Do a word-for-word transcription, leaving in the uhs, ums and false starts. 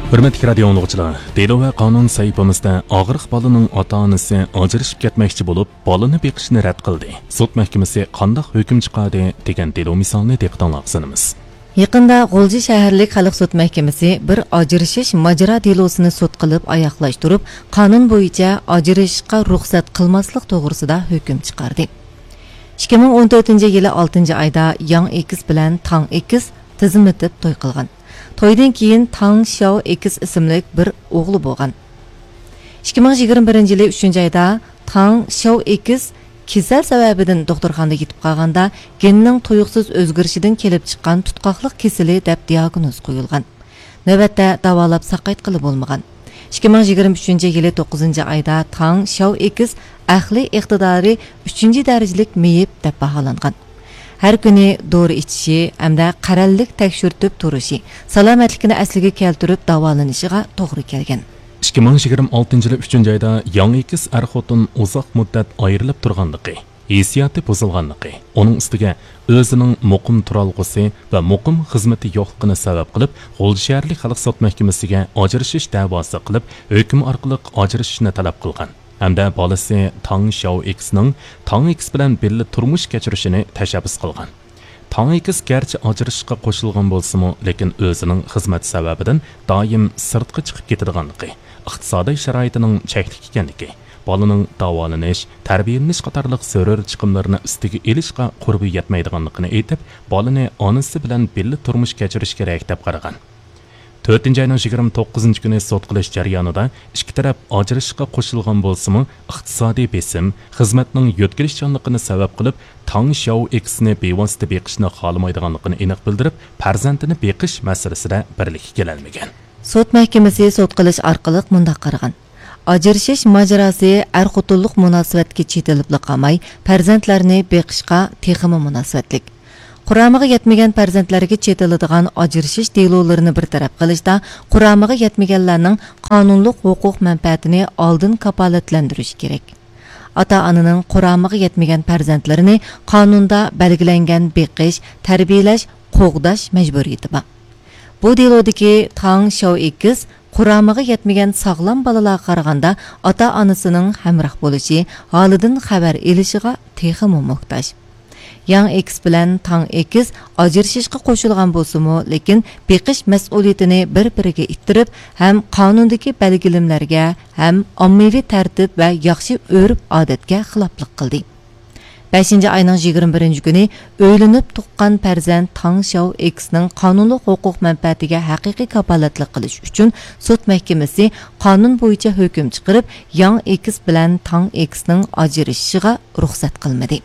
ھۆرمەتلىك رادىيو ئاڭلىغۇچىلار، دېلو ۋە قانۇن سەھىپىمىزدە ئاغرىق بالىنىڭ ئاتا-ئانىسى ئاجرىشىپ كەتمەكچى بولۇپ، بالىنى بېقىشنى رەت قىلدى. سوت مەھكىمىسى قانداق ھۆكۈم چىقاردى؟ دېگەن دېلو مىسالىنى دىققىتىڭلارغا سۇنىمىز. يېقىندا غۇلجا شەھەرلىك خەلق سوت مەھكىمىسى بىر ئاجرىشىش ماجىرا دېلوسىنى سوت قىلىپ ئاياغلاشتۇرۇپ، قانۇن بويىچە ئاجرىشىشقا رۇخسەت قىلماسلىق توغرىسىدا ھۆكۈم چىقاردى. ئىككى مىڭ ئون تۆتىنچى يىلى ئالتىنچى ئايدا ياڭ ئېكىس بىلەن تاڭ ئېكىس تىزىملىتىپ توي قىلغان. تويدىن كېيىن تاڭ شياۋ ئېكىس ئىسىملىك بىر ئوغلى بولغان. ئىككى مىڭ يىگىرمە بىرىنچى يىلى ئۈچىنچى ئايدا تاڭ شياۋ ئېكىس كېسەل سەۋەبىدىن دوختۇرخانىدا يېتىپ قالغاندا، گېننىڭ تۇيۇقسىز ئۆزگىرىشىدىن كېلىپ چىققان تۇتقاقلىق كېسىلى دەپ دىئاگنوز قويۇلغان. نۆۋەتتە داۋالاپ ساقايتقىلى بولمىغان. ئىككى مىڭ يىگىرمە ئۈچىنچى يىلى توققۇزىنچى ئايدا تاڭ شياۋ ئېكىس ئەقلىي ئىقتىدارى ئۈچىنچى دەرىجىلىك مېيىپ دەپ باھالانغان. ھەر كۈنى دورا ئىچىشى ھەمدە قەرەللىك تەكشۈرتۈپ تۇرۇشى، سالامەتلىكىنى ئەسلىگە كەلتۈرۈپ داۋالىنىشىغا توغرا كەلگەن. ئىككى مىڭ يىگىرمە ئالتىنچى يىلى ئۈچىنچى ئايدا ياڭ ئېكىس ئەر-خوتۇن ئۇزاق مۇددەت ئايرىلىپ تۇرغانلىقى، ھېسسىياتى بۇزۇلغانلىقى، ئۇنىڭ ئۈستىگە ئۆزىنىڭ مۇقىم تۇرالغۇسى ۋە مۇقىم خىزمىتى يوقلۇقىنى سەۋەب قىلىپ، غۇلجا شەھەرلىك خەلق سوت مەھكىمىسىگە ئاجرىشىش دەۋاسى قىلىپ، ھۆكۈم ئارقىلىق ئاجرىشىشنى تەلەپ قىلغان ھەمدە بالىسى تاڭ شياۋ ئېكىسنىڭ تاڭ ئېكىس بىلەن بىللە تۇرمۇش كەچۈرۈشىنى تەشەببۇس قىلغان. تاڭ ئېكىس گەرچە ئاجرىشىشقا قوشۇلغان بولسىمۇ، لېكىن ئۆزىنىڭ خىزمەت سەۋەبىدىن دائىم سىرتقا چىقىپ كېتىدىغانلىقى، ئىقتىسادىي شارائىتىنىڭ چەكلىك ئىكەنلىكى، بالىنىڭ داۋالىنىش، تەربىيەلىنىش قاتارلىق زۆرۈر چىقىملىرىنى ئۈستىگە ئېلىشقا قۇربى يەتمەيدىغانلىقىنى ئېيتىپ، بالىنى ئانىسى بىلەن بىللە تۇرمۇش كەچۈرۈش كېرەك دەپ قارىغان. تۆتىنچى ئاينىڭ يىگىرمە توققۇزىنچى كۈنى سوت قىلىش جەريانىدا ئىككى تەرەپ ئاجرىشىشقا قوشۇلغان بولسىمۇ، ئىقتىسادىي بېسىم، خىزمەتنىڭ يۆتكىلىشچانلىقىنى سەۋەب قىلىپ، تاڭ شياۋ ئېكىسنى بىۋاسىتە بېقىشنى خالىمايدىغانلىقىنى ئېنىق بىلدۈرۈپ، پەرزەنتىنى بېقىش مەسىلىسىدە بىرلىككە كېلەلمىگەن. سوت مەھكىمىسى سوت قىلىش ئارقىلىق مۇنداق قارىغان: ئاجرىشىش ماجىراسى ئەر-خوتۇنلۇق مۇناسىۋەتكە چېتىلىپلا قالماي، پەرزەنتلەرنى بېقىشقا تېخىمۇ مۇناسىۋەتلىك. قۇرامىغا يەتمىگەن پەرزەنتلەرگە چېتىلىدىغان ئاجرىشىش دېلولىرىنى بىر تەرەپ قىلىشتا، قۇرامىغا يەتمىگەنلەرنىڭ قانۇنلۇق ھوقۇق مەنپەئەتىنى ئالدىن كاپالەتلەندۈرۈش كېرەك. ئاتا-ئانىنىڭ قۇرامىغا يەتمىگەن پەرزەنتلىرىنى قانۇندا بەلگىلەنگەن بېقىش، تەربىيەلەش، قوغداش مەجبۇرىيىتى بار. بۇ دېلودىكى تاڭ شياۋ ئېكىس قۇرامىغا يەتمىگەن ساغلام بالىلارغا قارىغاندا ئاتا-ئانىسىنىڭ ھەمراھ بولۇشى، ھالىدىن خەۋەر ئېلىشىغا تېخىمۇ موھتاج. ياڭ ئېكىس بىلەن تاڭ ئېكىس ئاجرىشىشقا قوشۇلغان بولسىمۇ، لېكىن بېقىش مەسئۇلىيىتىنى بىر-بىرىگە ئىتتىرىپ، ھەم قانۇندىكى بەلگىلىمىلەرگە، ھەم ئاممىۋى تەرتىپ ۋە ياخشى ئۆرپ-ئادەتكە خىلاپلىق قىلدى. بەشىنچى ئاينىڭ يىگىرمە بىرىنچى كۈنى ئۆيلىنىپ تۇغقان پەرزەنت تاڭ شياۋ ئېكىسنىڭ قانۇنلۇق ھوقۇق مەنپەئەتىگە ھەقىقىي كاپالەتلىك قىلىش ئۈچۈن سوت مەھكىمىسى قانۇن بويىچە ھۆكۈم چىقىرىپ، ياڭ ئېكىس بىلەن تاڭ ئېكىسنىڭ ئاجرىشىشىغا رۇخسەت قىلمىدى.